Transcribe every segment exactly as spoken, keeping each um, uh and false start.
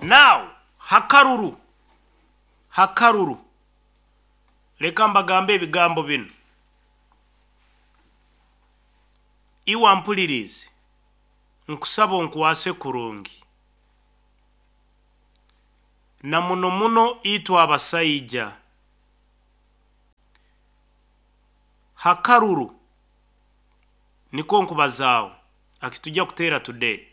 Now hakaruru hakaruru leka mbagambe ebigambo bino. Iwe ampulirize, nkusaba onkwase kurungi, na muno muno itwe abasaija. Hakaruru niko nkubazaaho akitujja kuteera today.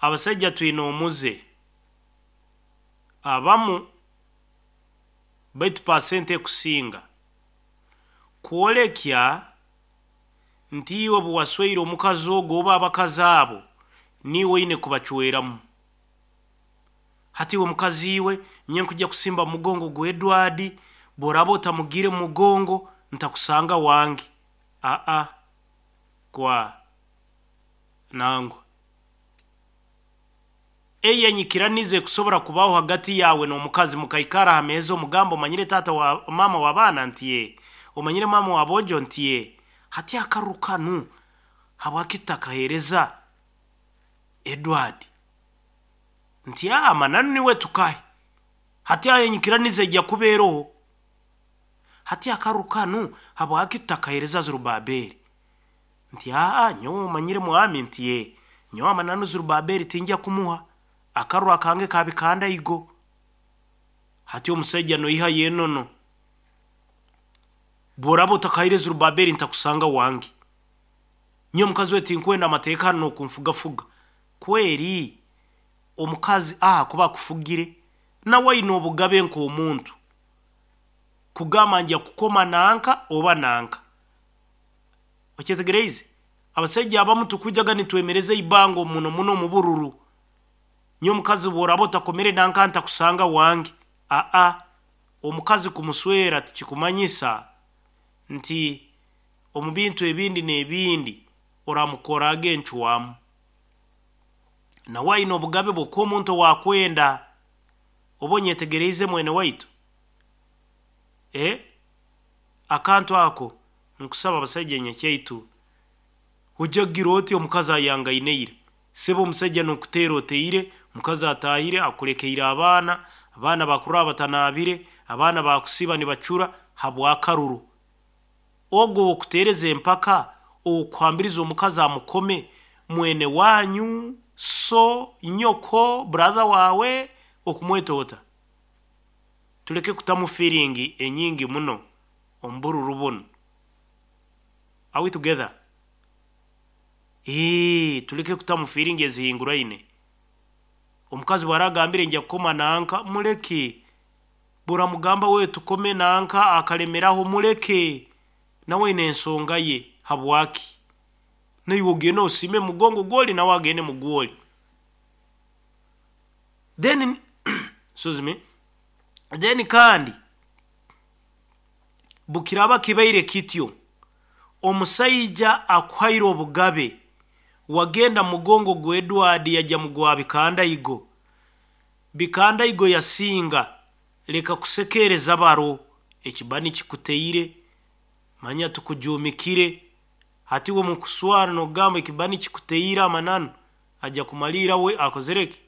Abasaija twine omuze abamu baitu pasente ekusinga kwolekya nti iwe bwewasweire omukazi ogwo oba abakazi abo niiwe oine kubacweramu. Hati iwe mukazi iwe nye nkujja kusimba mugongo gwa Edward, bworaba otamugire mugongo ntakusanga wange. Aa kwa nangwa eyenyikiranize ekusobora kubaho hagati yawe n'omukazi, mukaikara ha meeza omugamba omanyire taata wa mama w'abaana nti ye, omanyire mama wa bojo nti ye, hati akaruru kanu habwaki tutakaheereza Edward nti aa mananu niwe tukahe. Hati ayenyikiranize ejja kubeeroho. Hati akaruru kanu habwaki tutakaheereza Zerubabeli nti aa nyowe omanyire mwami nti ye, nyowe amananu Zerubabeli tinjya kumuha akaruru akange kabikanda igo. Hati omusaija noiha yenono, bworaba otakaire Zerubabeli ntakusanga wange, nyowe omukazi we tinkwenda amateeka hanu nokunfugafuga. Kweri omukazi aha kuba akufugire nawe aine obugabe nk'omuntu kugamba nja kukoma nanka oba nanka. Okyetegereize? Abasaija abamu tukujaga nitwemereza ibango muno muno omu bururu, nyowe omukazi bworaba otakomere nanka ntakusanga wange. Aa omukazi kumuswera tikikumanyisa nti omu bintu ebindi n'ebindi oramukoraga encwamu. Nawe aine obugabe bw'okuba omuntu owakwenda. Oba onyetegereize mwene waitu? Eh? Akantu ako nkusaba abasaija nyekyaitu ojagira oti omukazi ayangaine sebo omusaija nokuteera oteire, omukazi atahire akulekeire abaana, abaana bakuraba batanabire, abaana bakusiba nibacura habw'akaruru. Ogwo okuteereza empaka okuhambiriza omukazi amukome mwene wanyu, so nyoko, brother wawe okumwetoota. Tuleke kutamu feeling enyingi muno omu bururu bunu. Are we together? Ee, tuleke kutamu feeling ezihinguraine. Omukazi bwaragambire nja kukoma nanka muleke, buramugamba we tukome nanka akalemeraho muleke, nawe aine ensonga ye habwaki. Naiwe ogende osime mugongo gwoli nawe agende mugwoli. Then excuse me. Then kandi bukiraba kibaire kityo, omusaija akuhaire obugabe wagenda mugongo gwa Edward yajya mugwa bikanda igo, bikanda igo yasinga, leka kusekereza baro ekibani kikuteire manya tukujumikire. Hati we mukuswara nogamba ekibani kikuteire amananu ajja kumalira we akozereki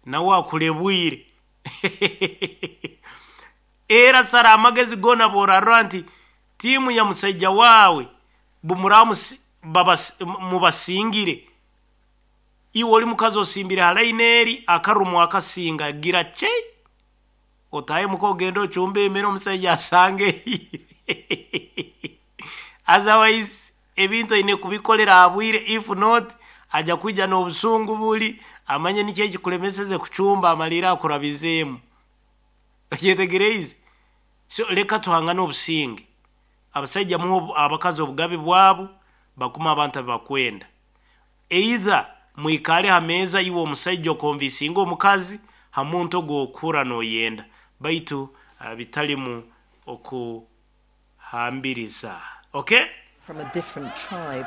nawe akurebwire. Era sara amagezi gona borarora nti tiimu ya musaija wawe bumuramu mubasingire, iwe oli mukazi osimbire halaini eri akarumu akasinga gira chei otahe muka ogende ochumbe emere omusaija asange. Otherwise ebintu aine kubikolera abwire, if not aja kwija n'obusungu buli amanye nikyo ekikulemeseze kuchumba amalira akurabizeemu. Okyetegereize? So leka tuhangane obusinge. Abasaija muhe abakazi obugabe bwabo bakuma abantu abakwenda. Either mwikale ha meeza iwe omusaija okonvisinga omukazi ha muntu ogwo okura noyenda, baitu uh, bitalimu okuhambiriza. Okay? From a different tribe.